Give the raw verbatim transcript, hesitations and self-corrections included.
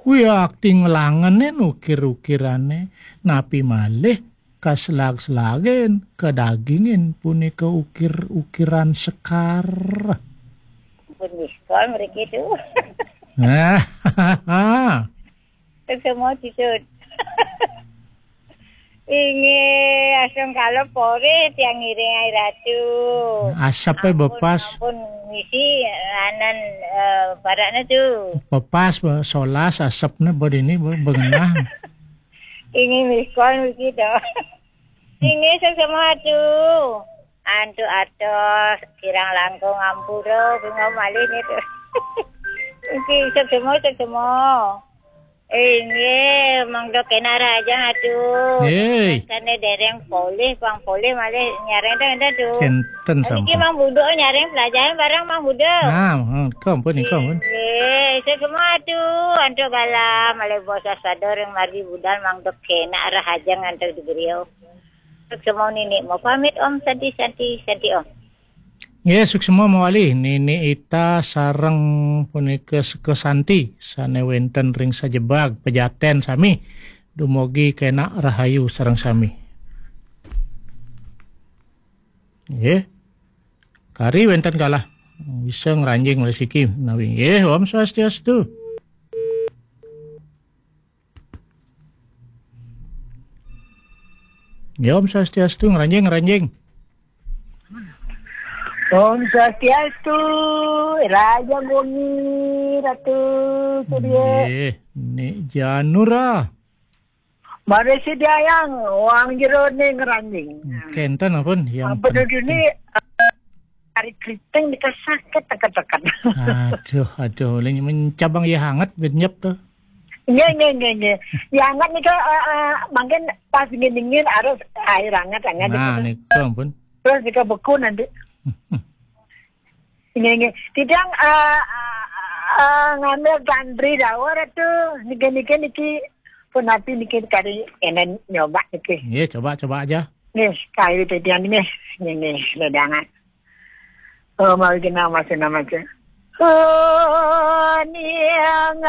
Wih, akting langenin ukir-ukirane, napi malih kaslag-slagen, kadagingin punika ukir-ukiran sekar. Pun diskon mriki tu. Nah, semua titut. Inggih, asung kala pore tiang ngiring ai Ratu. Asepe bepas. Ampun, misi anan, eh, barakne tu. Bepas, be-, solas asepne bedini, be-, bengenah. Inggih, miskon mriki to. Inggih, sesama tu. Antuk atos, kirang langkung ampura, bunga malih ni tu. Inggih, sesama, sesama. Inggih, mangda kenak rahajeng atu. Hei. Sane dereng polih, pang polih malih nyareng dah, dah tu. Kenten. Niki sampun. Mang Budo nyareng pelajaran barang Mang Budo. Nah, hmm, nika ampun, nika ampun. Inggih, sesama atu. Antuk bala malih bosas pada ring margi budal mangda kenak rahajeng antuk di griya. Sesama nini mau pamit Om, santi, santi, santi Om. Nggih, suksma mawali Nini Ita sareng punika Seka Santi sane wenten ring sajebag Pejaten sami. Dumugi kenak rahayu sareng sami. Nggih. Kari wenten kalah. Bisa ngranjing malih siki menawi. Nggih, Om Swastiastu. Ya, Om Swastiastu, ngranjing, ngranjing. Om Swastiastu, Raja Gumi, Ratu Surya. Nggih, Nik Janura. Mari sediayang wang jero ning ngranjing. Kenten ampun, yang ampun penting. Dulu ni, eh, hari keriting dikasakit teket-teket. Aduh, aduh, ulih mencabang ya hangat, benyep tuh. Nggih, nggih, nggih, nggih. Ya hangat nika, eh, eh, mangkin pas dingin-dingin harus air hangat, hangat. Nah, nika. Nika ampun. Terus nika beku nanti. Nggih, nggih. Titiang, eh, eh, ngambil gandri dawur itu. Niki, niki, niki. Punapi niki kari enen nyoba niki. Nggih, coba, coba aja. Nggih, kayu titiang nggih. Nggih, nggih, ledangan. Oh, mari kena masa nama je. Oh, niang